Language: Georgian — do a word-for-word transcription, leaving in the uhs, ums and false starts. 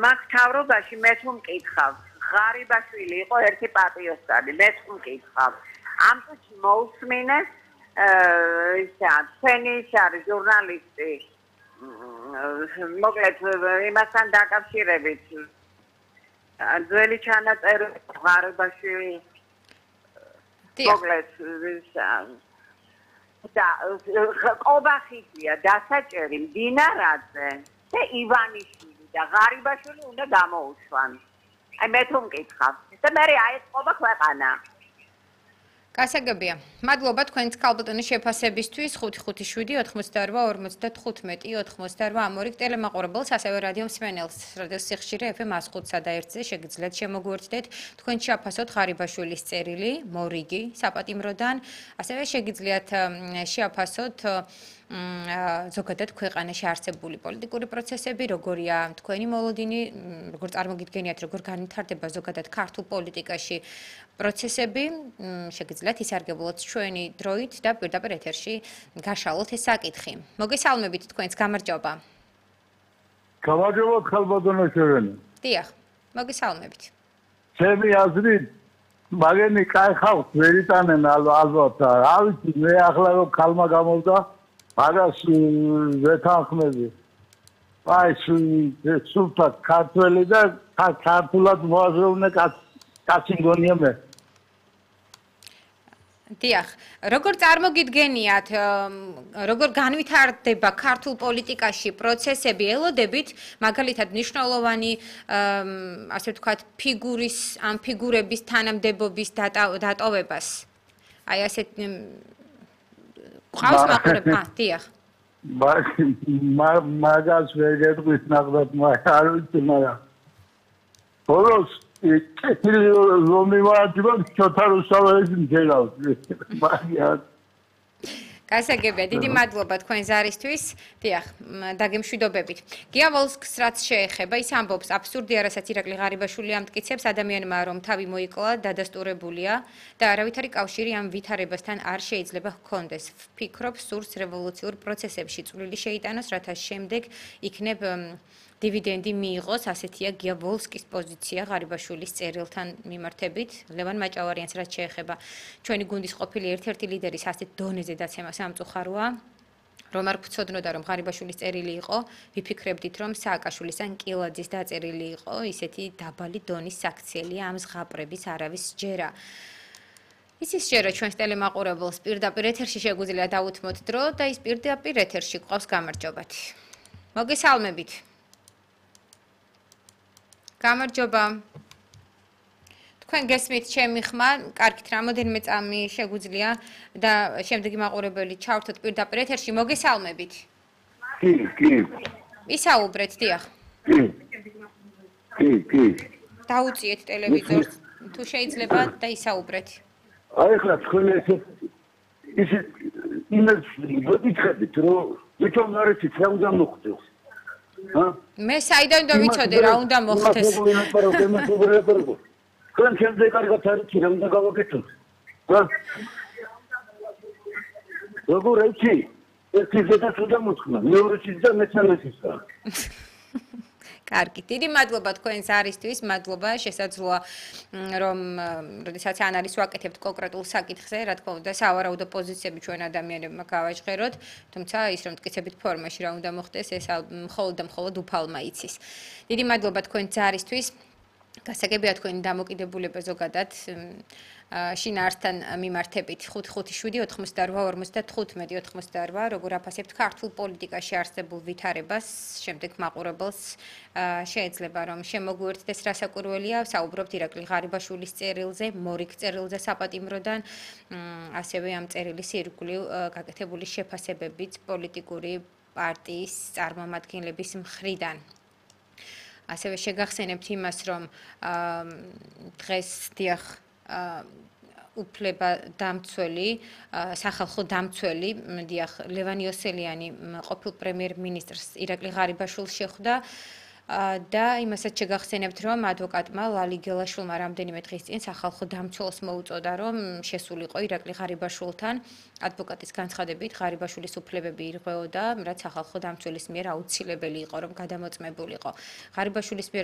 მაგ თავრობაში მე თუ მკითხავ, ღარიბაშვილი იყო ერთი პატიოსანი, მე თუ მკითხავ. ამ წუთში მოусმინეს ისა, თქვენი ის არის ჟურნალისტი, მოკლედ იმასთან დაკავშირებით. ძველი ჩანაწერი ღარიბაშვილი მოკლედ ისა და ყობახიდია დასაჭერი მდინარაძე და ივანიშვილი და ღარიბაშვილი უნდა გამოუშვან. აი მე თუ მკითხავ და მე აეწყობა ქვეყანა. გასაგებია. მადლობა თქვენს ქალბატონის შეფასებისთვის ხუთი ხუთი შვიდი ოთხმოცდაორვა ორმოცდათხუთმეტი ოცდაორვა ამორიგ ტელემაყურებელს ასევე რადიო მსმენელს რადიო სიხშირე ეფ ემ ას ხუთსა და ერთზე შეგიძლიათ შემოგვიერთდეთ თქვენ შეაფასოთ ღარიბაშვილის წერილი მორიგი საპატიმროდან ასევე შეგიძლიათ შეაფასოთ ზოგადად ქვეყანაში არსებული პოლიტიკური პროცესები, როგორია თქვენი მოლოდინი, როგორ წარმოგიდგენიათ, როგორ განვითარდება ზოგადად ქართულ პოლიტიკაში პროცესები, შეგიძლიათ ისარგებლოთ ჩვენი დროით და პირდაპირ ეთერში გაშალოთ ეს საკითხი. მოგესალმებით თქვენს გამარჯობა. გამარჯობა ქალბატონო შევენი. დიახ, მოგესალმებით. ჩემი აზრით მაგენი კაი ხალხს ვერ იტანენ ალბათ. რა ვიცი, მე ახლა რომ ქალმა გამოვდა მაგას ვეთანხმები. აი სულთა ქართველი და ქართულად მოაზროვნე კაცი მგონია მე. დიახ, როგორ წარმოგიდგენიათ, როგორ განვითარდება ქართულ პოლიტიკაში პროცესები, ელოდებით მაგალითად მნიშვნელოვანი ასე ვთქვათ ფიგურის ამ ფიგურების თანამდებობის დატოვებას. აი ასეთ ყავს მაყურებლა, დიახ. მაგას ვერ გეტყვის ნახდათ, არ ვიცი, მაგრამ ბოლოს კეთილი რომ იმართება ცოტა რუსთაველის მჯერავს. მაგას გასაგებია, დიდი მადლობა თქვენ ზარისთვის. დიახ, დაგემშვიდობებით. გია ვოლსკს რაც შეეხება, ის ამბობს, აბსურდია, რასაც ირაკლი ღარიბაშვილი ამტკიცებს ადამიანმა, რომ თავი მოიკლა, დადასტურებულია და არავითარი კავშირი ამ ვითარებასთან არ შეიძლება ჰქონდეს. ვფიქრობ, სურს რევოლუციურ პროცესებში წვლილი შეიტანოს, რათა შემდეგ იქნებ დივიდენდი მიიღოს, ასეთია გია ვოლსკის პოზიცია ღარიბაშვილის წერილთან მიმართებით. ლევან მაჭავარიანს რაც შეეხება ჩვენი გუნდის ყოფილი ერთ-ერთი ლიდერის ასეთ დონეზე დაცემა სამწუხაროა. რომ არ გვცოდნოდა რომ ღარიბაშვილის წერილი იყო, ვიფიქრებდით რომ სააკაშვილის ან კილაძის დაწერილი იყო, ისეთი დაბალი დონის საქციელია ამ ზღაპრების არავის სჯერა. იცის სჯერა ჩვენს ტელემაყურებელს პირდაპირ ეთერში შეგვიძლია დაუთმოთ დრო და ის პირდაპირ ეთერში გვყავს გამარჯობათი. მოგესალმებით. გამარჯობა. თქვენ გესმით ჩემი ხმა, კარგით, რამოდენიმე წამი შეგვიძლია და შემდეგი მაყურებელი ჩავრთოთ პირდაპირ ეთერში. მოგესალმებით. კი, კი. ისაუბრეთ, დიახ. კი. კი, კი. დაუწიეთ ტელევიზორს, თუ შეიძლება და ისაუბრეთ. აი ხლა თქვენ ესე ისე იმას ვიტყედით, რომ ვიჩვენ არ იცით რა უნდა მოხდეს. მე საიდან უნდა ვიცოდე რა უნდა მოხდეს? თქვენ შემდეგ კარგად არ იცი რა უნდა გავაკეთოთ. როგორ იცი? ერთი ზედაც უნდა მოხდა, მეორეც და მესამეც. კარგი, დიდი მადლობა თქვენს არისთვის, მადლობა, შესაძლოა რომ როდესაც ანალიზს ვაკეთებთ კონკრეტულ საკითხზე, რა თქმა უნდა, სავარაუდო პოზიციები ჩვენ ადამიანებმა გავაჟღეროთ, თუმცა ის რომ მტკიცებით ფორმაში რა უნდა მოხდეს, ეს მხოლოდ და მხოლოდ უფალმა იცის. დიდი მადლობა თქვენს არისთვის. გასაგებია თქვენი დამოკიდებულება ზოგადად შინაარსთან მიმართებით ხუთი ხუთი შვიდი ოთხმოცდაორვა ორმოცდათხუთმეტი ოცდაორვა როგორ აფასებთ ქართულ პოლიტიკაში არსებულ ვითარებას შემდეგ მაყურებელს შეიძლება რომ შემოგვიერთდეს რასაკვირველია საუბრობთ ირაკლი ღარიბაშვილის წერილზე მორიგ წერილზე საპატიმროდან ასევე ამ წერილის ირგვლივ გაკეთებული შეფასებებით პოლიტიკური პარტიის წარმომადგენლების მხრიდან ასევე შეგახსენებთ იმას, რომ დღეს დიახ უფლება დამცველი, სახალხო დამცველი, დიახ ლევან იოსელიანი ყოფილ პრემიერ-მინისტრს ირაკლი ღარიბაშვილს შეხვდა და იმასაც შეგახსენებთ, რომ ადვოკატმა ლალი გელაშვილმა რამდენიმე დღის წინ სახალხო დამცველს მოუწოდა, რომ შესულიყო ირაკლი ღარიბაშვილთან. ადვოკატის განცხადებით, ღარიბაშვილის უფლებები ირღვეოდა, რაც სახალხო დამცველის მიერ აუცილებელი იყო, რომ გადამოწმებულიყო. ღარიბაშვილის მიერ